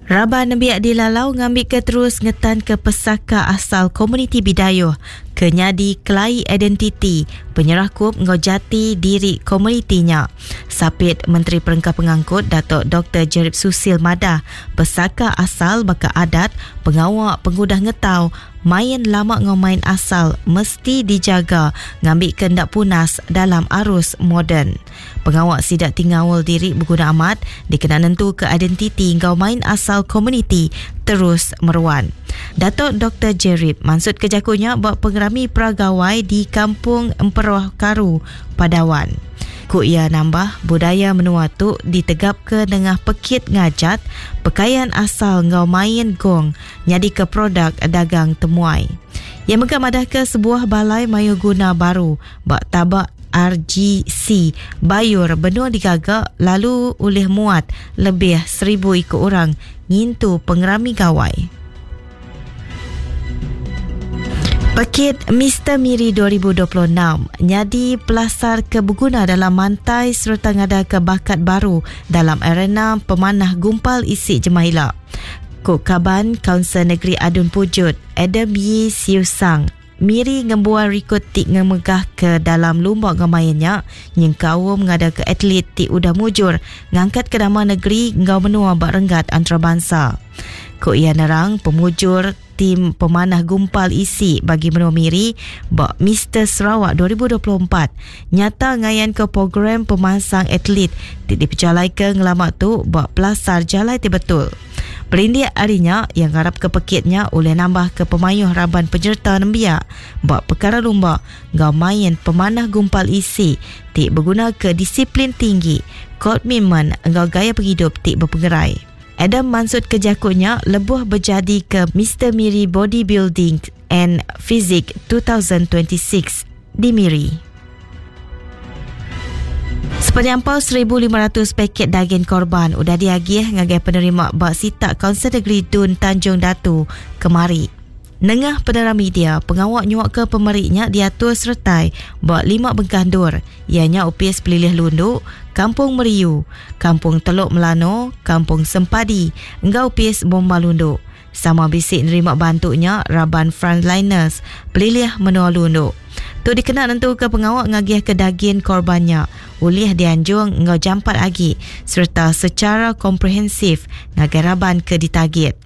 Raban nembiak dilalau ngambika terus ngetanka pesaka asal komuniti Bidayuh ke nyadi kelai identiti, penyerakup enggau jati diri komuniti nya. Sapit Menteri Perengka Pengangkut Datuk Doktor Jerip Susil madah, pesaka asal baka adat, pengawa pengudah ngetau, Main lama enggau main asal mesti dijaga ngambika enda punas dalam arus moden. Pengawa sida ti ngaul diri beguna amat dikena nentuka identiti enggau main asal komuniti terus meruan. Datuk Doktor Jerip mansutka jaku nya ba Pengerami Pra-Gawai di Kampung Emperoh Karu, Padawan. Ku iya nambah, budaya menua tu ditegapka nengah pekit ngajat, pekayan asal enggau main gong nyadika produk dagang temuai. Iya mega madahka sebuah balai mayuh guna baru ba taba RGC Bayur benung digaga lalu ulih muat lebih seribu iku orang ngintu pengerami gawai. Pekit Mister Miri 2026 nyadi pelasar ke beguna dalam mantai sereta ngadaka bakat baru dalam arena pemanah gumpal isi jemah ila. Ku Kaban Kaunsil Negeri Adun Pujut, Adam Yii Siew Sang, Miri ngembuan rikod ti ngemegahka dalam lumba enggau main nya nyengkaum ngadaka atlet ti udah mujur ngangkatka nama negeri enggau menua ba renggat antarabansa. Ku iya nerang, pemujur tim pemanah gumpal isi bagi menua Miri ba Mister Sarawak 2024 nyata ngayanka program pemansang atlet ti dipejalaika ngelama tu ba pelasar jalai ti betul. Berindik ari nya, iya ngarapka pekit nya ulih nambahka pemayuh raban penyereta nembiak ba pekara lumba enggau main pemanah gumpal isi ti begunaka disiplin tinggi, komitmen enggau gaya pengidup ti bepengerai. Adam mansutka jaku nya lebuh bejadika Mister Miri Bodybuilding and Physique 2026 di Miri. Sepenyampau 1,500 paket dagin korban udah diagih ngagai penerima ba sitak Kaunsil Negeri Dun Tanjung Datu kemari. Nengah penerang media, pengawa nyuaka pemeri nya diatur seretai ba lima bengkah endur iya nya Opis Pelilih Lundu, Kampung Meriyu, Kampung Telok Melano, Kampung Sempadi enggau Opis Bomba Lundu. Sama bisi nerima bantu nya raban Frontliners Pelilih Menua Lundu. Tu dikena nentuka pengawa ngagihka dagin korban nya ulih dianjung enggau jampat agi sereta sechara komprehensif ngagai raban ke ditagit.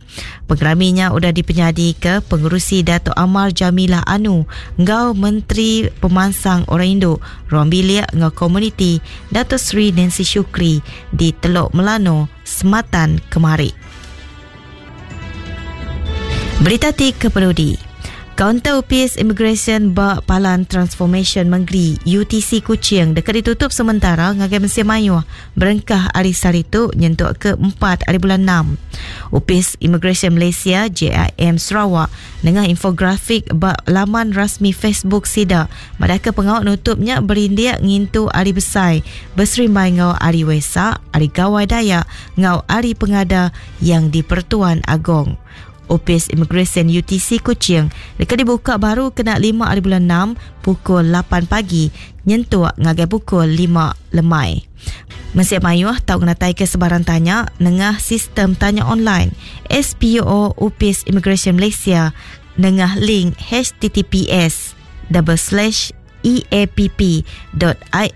Pengerami nya udah dipenyadika Pengerusi Datuk Amar Jamilah Anu enggau Menteri Pemansang Orang Indu, Ruang Bilik enggau Komuniti Dato Sri Nancy Shukri di Telok Melano, Sematan kemari. Berita ti kepenudi. Kaunter Opis Imigresen ba Palan Transformasyen Mengeri UTC Kuching deka ditutup sementara ngagai mensia mayuh berengkah ari sehari tu nyentuk ke empat ari bulan enam. Opis Imigresen Malaysia, JIM, Sarawak nengah infografik ba laman rasmi Facebook sida madahka pengawa nutup nya berindik ngintu Hari Besai beserimbai enggau Hari Wesak, Hari Gawai Dayak enggau Hari Pengada Yang di-Pertuan Agong. Opis Imigresen UTC Kuching deka dibuka baru kena lima ari bulan enam pukul lapan pagi nyentuk ngagai pukul lima lemai. Mensia mayuh tau ngenataika sebarang tanya nengah sistem tanya online SPO Opis Imigresen Malaysia nengah link https double slash eapp dot.